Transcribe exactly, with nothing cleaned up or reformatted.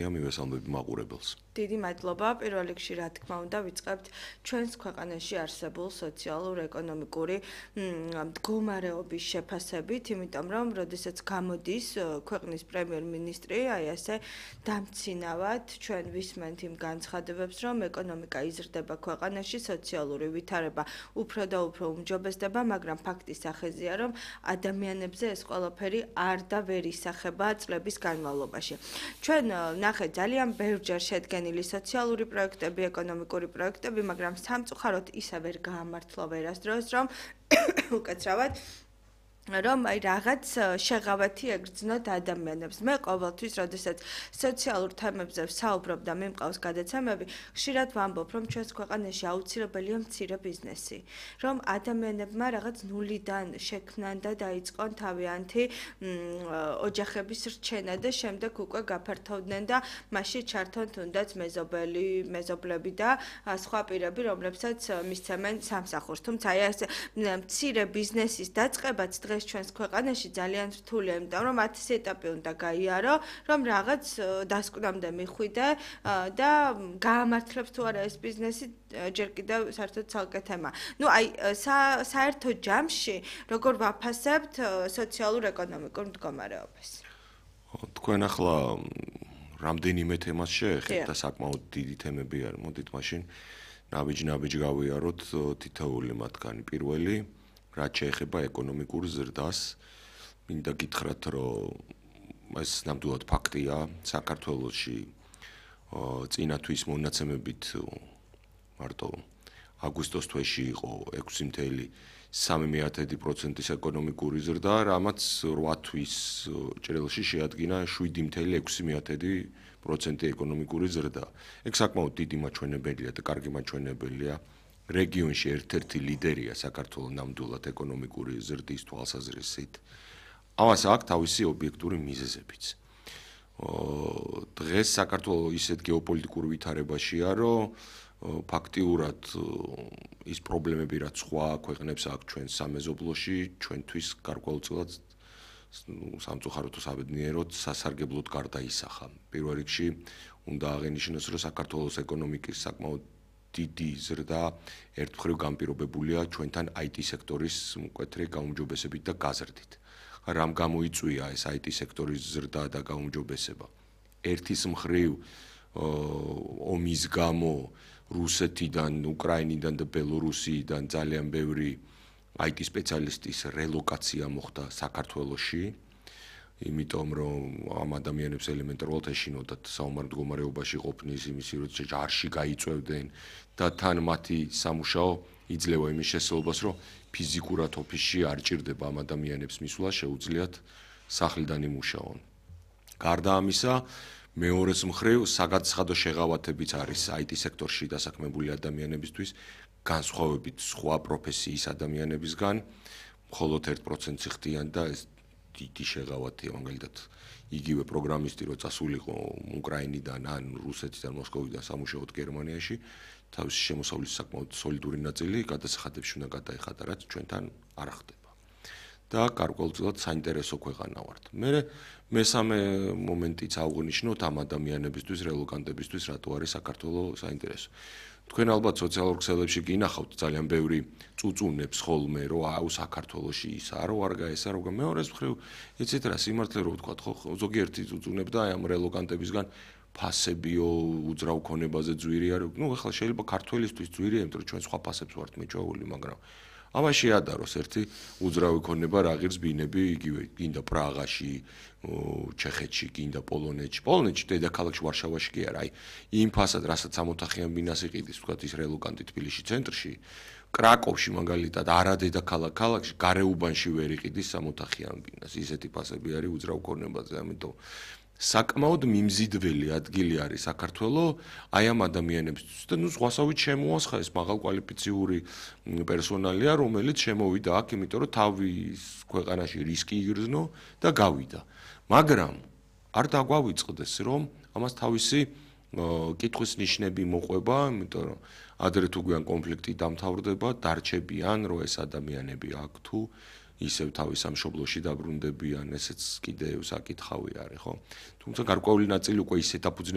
მივესალმები მაყურებელს. დიდი მადლობა. პირველ რიგში, რა თქმა უნდა, ვიწყებთ ჩვენს ქვეყანაში არსებულ სოციალურ-ეკონომიკური მდგომარეობის შეფასებით, იმიტომ რომ, როდესაც გამოდის ქვეყნის პრემიერ-მინისტრი, აი ასე დამცინავად ჩვენ ვისმენთ იმ განცხადებებს, რომ ეკონომიკა იზრდება ქვეყანაში, სოციალური ვითარება უფრო და უფრო უმჯობესდება, მაგრამ ფაქტი სახეზეა, რომ ადამიანებზე ეს ყველაფერი არ და ვერ ისახება წლების განმავლობაში. ჩვენ ნახეთ ძალიან ბევრჯერ შედგენილი სოციალური პროექტები, ეკონომიკური პროექტები, მაგრამ სამწუხაროდ ისე ვერ გაამართლა ვერასდროს, რომ უკაცრავად რომ აი რაღაც შეღავათი ეგრძნოთ ადამიანებს. მე ყოველთვის, როდესაც სოციალურ თემებზე ვსაუბრობ და მიმყავს გადაცემები, ხშირად ვამბობ, რომ ჩვენს ქვეყანაში აუცილებელია მცირე ბიზნესი, რომ ადამიანებმა რაღაც ნულიდან შექმნან და დაიწყონ თავიანთი ოჯახების რჩენა და შემდეგ უკვე გაფართოვდნენ და მასში ჩართონ თუნდაც მეზობელი, მეზობლები და სხვა პირები, რომლებსაც მისცემენ სამსახურს. თუმცა აი ეს მცირე ბიზნესის დაწყებაც დღეს ჩვენს ქვეყანაში ძალიან რთულია, იმიტომ რომ ათი ეტაპი უნდა გაიარო, რომ რაღაც დასკვნამდე მიხვიდე და გაამართლებს თუ არა ეს ბიზნესი ჯერ კიდევ საერთოდ ცალკე თემა. ნუ აი საერთო ჯამში როგორ ვაფასებთ სოციალურ-ეკონომიკურ მდგომარეობას? თქვენ ახლა რამდენიმე თემას შეეხებთ და საკმაოდ დიდი თემები არის. მოდით მაშინ ნაბიჯ-ნაბიჯ გავიაროთ თითოეული მათგანი. პირველი რაც შეეხება ეკონომიკურ ზრდას, მინდა გითხრათ, რომ ეს ნამდვილად ფაქტია, საქართველოში წინა თვის მონაცემებით მარტო აგვისტოს თვეში იყო ექვსი წუთი სამი პროცენტის ეკონომიკური ზრდა, რამაც რვა თვის ჭრილში შეადგინა შვიდი წუთი ექვსი პროცენტი ეკონომიკური ზრდა. ეგ საკმაოდ დიდი მაჩვენებელია და კარგი მაჩვენებელია. რეგიონში ერთ-ერთი ლიდერია საქართველოს ნამდვილად ეკონომიკური ზრდის თვალსაზრისით. ამას აქვს თავისი ობიექტური მიზეზებიც. დღეს საქართველოს ისეთ გეოპოლიტიკურ ვითარებაშია, რომ ფაქტიურად ის პრობლემები, რაც სხვა ქვეყნებს აქვს ჩვენ სამეზობლოში, ჩვენთვის გარკვეულწილად სამწუხაროდ თუ საბედნიეროდ სასარგებლოდ გარდაისახა. პირველ რიგში უნდა აღინიშნოს, რომ საქართველოს ეკონომიკის საკმაოდ დიდი ზრდა ერთმხრივ განპირობებულია ჩვენთან აი ტი სექტორის მკვეთრი გაუმჯობესებით და გაზრდით. რამ გამოიწვია ეს აი ტი სექტორის ზრდა და გაუმჯობესება? ერთის მხრივ ომის გამო რუსეთიდან, უკრაინიდან და ბელორუსიიდან ძალიან ბევრი აი ტი სპეციალისტის რელოკაცია მოხდა საქართველოში. იმიტომ რომ ამ ადამიანებს ელემენტარულად ეშინოდათ საომარ მდგომარეობაში ყოფნის იმისი, რომ ჯარში გაიწევდნენ და თან მათი სამუშაო იძლევა იმის შესაძლებლობას, რომ ფიზიკურად ოფისში არ ჭირდება ამ ადამიანებს მისვლა, შეუძლიათ სახლიდან იმუშაონ. გარდა ამისა, მეორეს მხრივ საგაცხადო შეღავათებიც არის აი ტი სექტორში დასაქმებული ადამიანებისთვის, განსხვავებით სხვა პროფესიის ადამიანებისგან, მხოლოდ ერთ პროცენტს ხდიან და ეს დიდი შეღავათია, მაგალითად, იგივე პროგრამისტი, რო წასულიყო უკრაინიდან ან რუსეთიდან, მოსკოვიდან სამუშაოდ გერმანიაში, თავისი შემოსავლის საკმაოდ სოლიდური ნაწილი გადასახადებში უნდა გადაეხადა, რაც ჩვენთან არ ხდება. და გარკვეულწილად საინტერესო ქვეყანა ვართ. მე მესამე მომენტიც აღვნიშნოთ ამ ადამიანებისთვის, რელოკანტებისთვის, რატო არის საქართველოს საინტერესო. თქვენ ალბათ სოციალურ ქსელებში გინახავთ ძალიან ბევრი წუწუნებს ხოლმე, რომ აუ საქართველოში ისაა, რომ არ გაესა, რომ მეორეს მხრივ იცით რა სიმართლე რო ვთქვათ, ხო, ზოგიერთი წუწუნებდა აი ამ რელოკანტებისგან ფასებიო უძრავ ქონებაზე ძვირია, რომ ნუ ახლა შეიძლება ქართველისთვის ძვირია, იმიტომ რომ ჩვენ სხვა ფასებს ვართ მიჭვეული, მაგრამ ამას შეადაროს ერთი უძრავი ქონება რა ღირს ბინები, იგივე გინდა პრაღაში, ჩეხეთში, გინდა პოლონეთში. პოლონეთში დედაქალაქში ვარშავაში კი არა, აი იმ ფასად, რასაც სამოთახიან ბინას იყიდის, ვთქვათ ის რელოკანტი თბილისში ცენტრში, კრაკოვში მაგალითად არა დედაქალაქ ქალაქში, გარეუბანში ვერ იყიდის სამოთახიან ბინას. ისეთი ფასები არის უძრავ ქონებაზე, ამიტომ საკმაოდ მიმზიდველი ადგილი არის საქართველოს აი ამ ადამიანებისთვის და ნუ სხვასავით შემოასხა ეს მაღალკვალიფიციური პერსონალია, რომელიც შემოვიდა აქ, იმიტომ რომ თავის ქვეყანაში რისკი იგრძნო და გავიდა. მაგრამ არ დაგვავიწყდეს, რომ ამას თავისი კითხვის ნიშნები მოყვება, იმიტომ რომ ადრე თუ გვიან კონფლიქტი დამთავრდება, დარჩებიან, რომ ეს ადამიანები აქ თუ ისევ თავის სამშობლოში დაბრუნდებიან, ესეც კიდევ საკითხავი არის, ხო? თუმცა გარკვეული ნაწილი უკვე ისეთ აფუძნებელია